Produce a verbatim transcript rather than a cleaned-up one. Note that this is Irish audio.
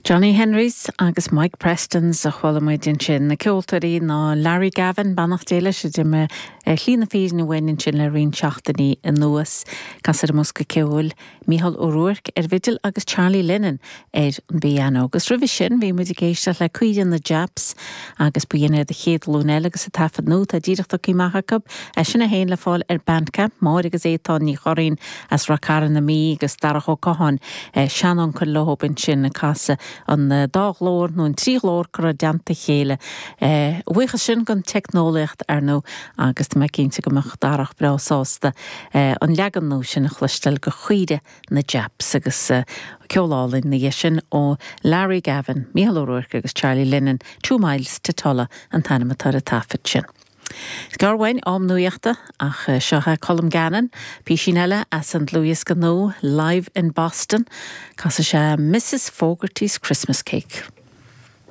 Johnny Henrys agus Mike Prestons a chuala muid ansin na ceoltóirí ná Larry Gavin beannacht Dé leis a d'imigh ar shlí na fírinne uainn ansin le roinnt seachtainí anuas Casadh ar an mbosca ceoil Mícheál Ó Ruairc ar bhfidil agus Charlie Lennon ar an bpianó. Agus roimhe sin bhí muid ag éisteacht le Caoire na Japs agus b'in iad an Chéad Ghlúin Eile agus an taifead nua atá díreach tagtha amach acu é sin féin le fáil ar Bandcamp Máire agus Étáin Ní Churraoin as Ráth Cairn na Mí agus Darach Ó Catháin seanuncail leo ansin ag casadh an dá ghlór nó an trí ghlór curtha i dteannta a chéile. Buíochas sin don teicneolaíocht ar ndóigh agus tá mé cinnte go mbeadh Darach breá sásta an leagan nua sin a chloisteáil de Chaoire na Japs agus ceol álainn na sin ó Larry Gavin, Mícheál Ó Ruairc agus Charlie Lennon, Two Miles to Tulla an t-ainm atá ar an taifead sin. Gearr uainn am nuachta ach seo é Colm Gannon, písín eile as an dlúthdhiosca nua live in Boston, Casfaidh sé Mrs. Fogarty's Christmas Cake.